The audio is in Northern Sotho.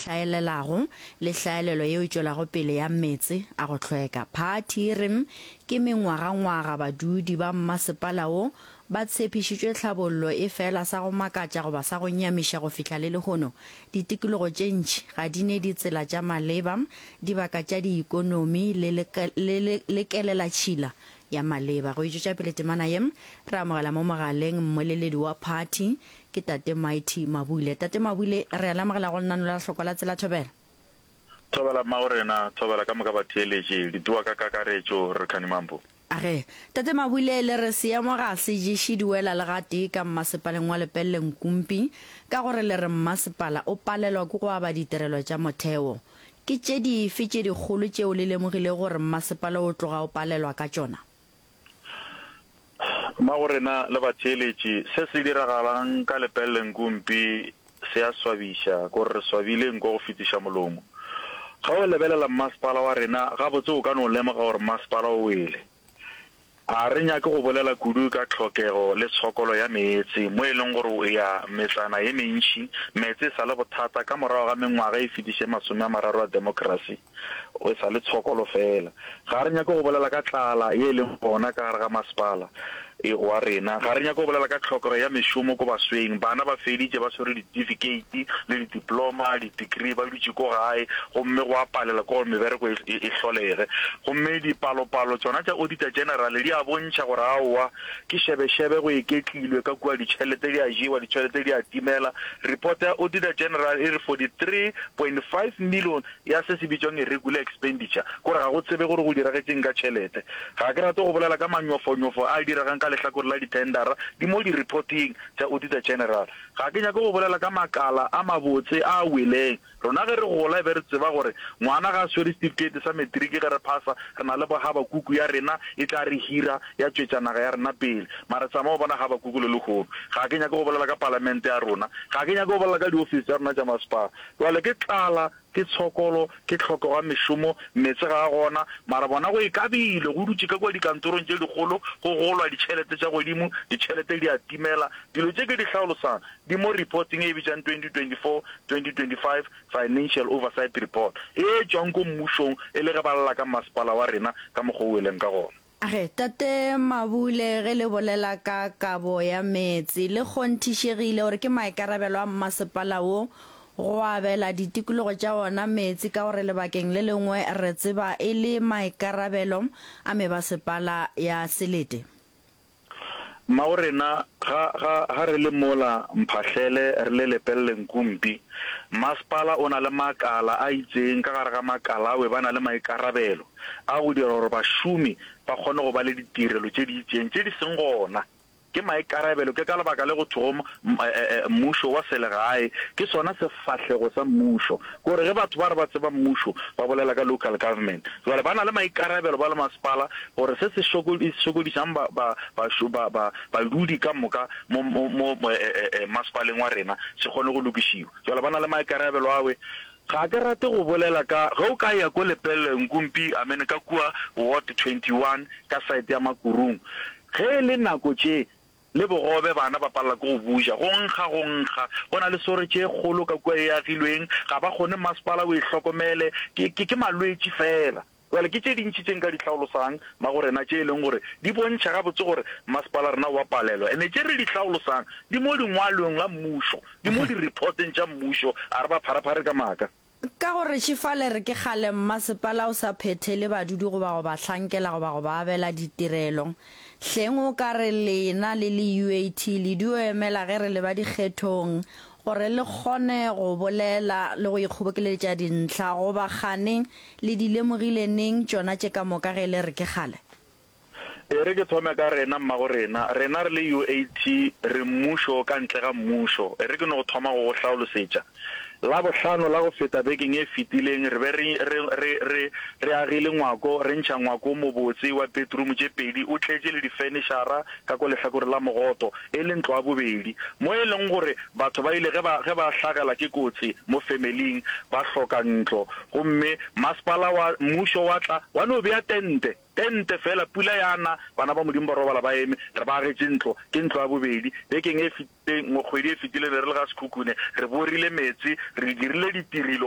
hlaelelago le hlaelelo yeo e tšwelago pele ya meetse a go hlweka. Phathi e re ke mengwagangwaga badudi ba mmasepala wo ba tshepišitšwe tlhabollo efela sa go makatša goba sa go nyamiša go fihla le lehono ditikologo tše ntši ga di ne ditsela tša maleba, dibaka tša diikonomi le le le kelelatšhila ya maleba. Go e tšwetša pele temana ye, re amogela mo mogaleng mmoleledi wa phathi, ke Tate Mighty Mabule. Tate Mabule, re a le amogela go lenano la Hlokwa la Tsela Thobela. Thobela mmagorena, thobela ka moka batheeletši, ditoa ka kakaretšo, re Khani Mambo. Age, Tate Mabule, le re seemo ga se ješe diwela le gatee ka mmasepaleng wa Lepelle Nkumpi ka gore le re mmasepala o palelwa ke go aba ditirelo tša motheo. Ke tše dife tše dikgolo tšeo le lemogilego gore mmasepala o tloga o palelwa ka tšona? Mmagorena le batheeletši, se se diragalang ka Lepelle Nkumpi se a swabiša, kore re swabile nko go fetiša molomo. Ge o lebelela mmasepala wa rena gabotse o ka no lemoga gore mmasepala o wele. A re nyake go bolela kudu ka tlhokego le tshokolo ya meetse mo e leng gore o ya metsana ye mentši meetse e sa le bothata ka morago ga mengwaga e fetiše 30 a demokrasi e sa le tshokolo fela. Ga re nyake go bolela ka tlala ye e leng gona ka gare ga masepala wa rena. Ga re nyake go bolela ka tlhokego ya mešomo ko basweng. Bana ba feditše ba swere ditifikheiti le didiploma, di-degree, ba dutše ko gae gomme go a palela ke gore mebereko e, e, e hlolege. Gomme dipalopalo tšona tša Auditor General di a bontšha gore aowa, ke šebešebe go iketlilwe ka kua, ditšhelete di a jewa, ditšhelete di a timela. Report ya Auditor General e re 43.5 million ya se se bitšwang irregular expenditure, kore ga go tsebe gore go diragetšeng ka tšhelete. Ga ke rate go bolela ka manyofonyofo a diregang ka lehlakore la dithendara, di mo di-reporting tša Auditor General. Ga ke nyake go bolela ka makala a mabotse a a weleng. Rona ge re gola e be re tseba gore ngwana ga a swere setifikeiti sa matric ge re phasa, re na le bo Habakuku ya rena e tla re hira ya tšwetša naga ya rena pele. Mara tsamaya o bona Habakuku le lehono. Ga ke nyake go bolela ka palamente ya rona. Ga ke nyake go bolela ka diofisi tša rena tša masepala. Bjale ke tlala, ke tshokolo, ke tlhokego ya mešomo, meetse ga a gona, mara bona go ikabile, go dutše ka kua dikantorong tše dikgolo, go golwa ditšhelete tša godimo, ditšhelete di a timela. Dilo tše ke di hlaolosang di mo reporting e bitšang 2024-2025 Financial Oversight Report, e tšwang ko mmušong e le ge ba lla ka masepala wa rena ka mokgwa o weleng ka gona. Ge, Tate Mabule, ge le bolela ka kabo ya meetse, le kgonthišegile gore ke maikarabelo a mmasepala wo go abela ditikologo tša wona meetse ka gore lebakeng le lengwe re tseba e le maikarabelo a mebasepala ya selete? Mmagorena, ga, ga, ga re le mola Mphahlele re le Lepelle Nkumpi, masepala o na le makala a itseng, ka gare ga makala awe ba na le maikarabelo a go dira gore bašomi ba kgone go ba le ditirelo tše di itseng tše di seng gona. Ke maikarabelo, ke ka lebaka le go thwego mmušo wa selegae ke sona sefahlego sa mmušo. Ke gore ge batho ba re ba tseba mmušo, ba bolela ka local government. Jwale ba na le maikarabelo ba le masepala gore se se šokodišang ba, ba, ba, ba, ba, badudi ka moka mo, mo, mo masepaleng wa rena se kgone go lokišiwa. Jwale ba na le maikarabelo awe. Ga ke rate go bolela ka, ge o ka ya ko Lepelle Nkumpi, I mean ka kua Ward 21 ka side ya Makurung, ge e le nako tše le bogobe bana ba palela ke go buja, go nkga, go nkga. Go na le sore tše kgolo ka kua e agilweng, ga ba kgone masepala o e hlokomele, ke, ke, ke malwetši feela. Bjale ke tše dintši tše nka di hlaolosang magorena tše e leng gore di bontšha gabotse gore masepala rena o a palelwa. Ene tše re di hlaolosang di mo dingwalong la mmušo, di mo di-reporteng tša mmušo, a re ba pharaphare ka maaka. Ka gore šefale re ke kgale mmasepala o sa phethele badudi goba go ba hlankela goba go ba abela ditirelo. Hleng o ka re lena le le UAT le dio emela ge re leba dikgethong gore le kgone go bolela le go ikgobokeletša dintlha goba kgane Le di lemogile neng tšona tše ka moka ge le re ke kgale? E re ke thome ka rena, mmago rena. Rena re le UAT, re mmušo ka ntle ga mmušo. E re ke no go thoma go go hlaolosetša. Labohlano la go feta bekeng e fetileng re be re, re, re, re, re agile ngwako, re ntšha ngwako o mobotse wa bedroom tše pedi, o tletše le difenešara ka ko lehlakoreng la mogoto, e le ntlo ya bobedi. Mo e leng gore batho ba ile ge ba, ge ba hlagela ke kotsi mo familing, ba hloka ntlo. Gomme masepala wa mmušo wa tla, wa no bea tente, tente feela, pula ya na, bana ba Modimo ba robala ba eme, re ba agetše ntlo, ke ntlo ya bobedi. Bekeng e fetileng, kgwedi e fetileng, re le ga Sekhukhune, re borile meetse, re dirile ditirelo.